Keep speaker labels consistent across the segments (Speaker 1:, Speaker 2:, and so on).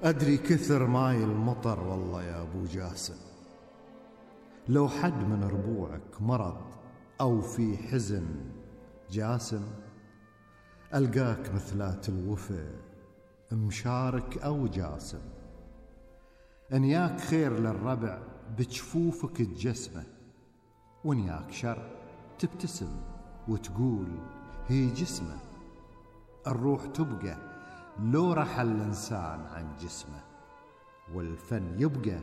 Speaker 1: أدري كثر ماي المطر والله يا أبو جاسم. لو حد من ربوعك مرض أو في حزن جاسم، ألقاك مثلات الوفا مشارك أو جاسم. أنياك خير للربع بجفوفك تجسمه، ونياك شر تبتسم وتقول هي جسمه. الروح تبقى لو رحل الإنسان عن جسمه، والفن يبقى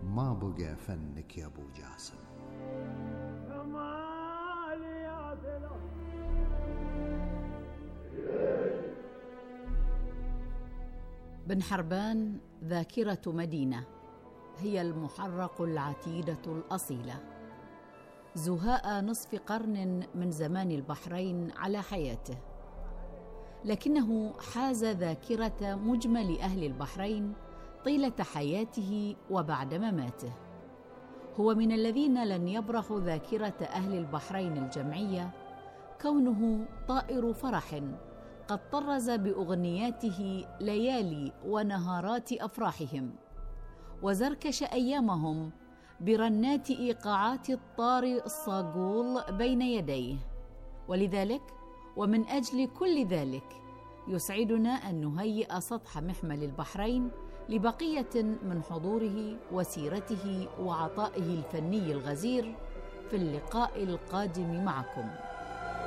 Speaker 1: ما بقى فنك يا أبو جاسم.
Speaker 2: بن حربان ذاكرة مدينة، هي المحرق العتيدة الأصيلة، زهاء نصف قرن من زمان البحرين على حياته، لكنه حاز ذاكرة مجمل أهل البحرين طيلة حياته وبعد مماته. هو من الذين لن يبرحوا ذاكرة أهل البحرين الجمعية، كونه طائر فرح قد طرز بأغنياته ليالي ونهارات أفراحهم، وزركش أيامهم برنات إيقاعات الطار الصاقول بين يديه. ولذلك ومن أجل كل ذلك يسعدنا أن نهيئ سطح محمل البحرين لبقية من حضوره وسيرته وعطائه الفني الغزير في اللقاء القادم معكم.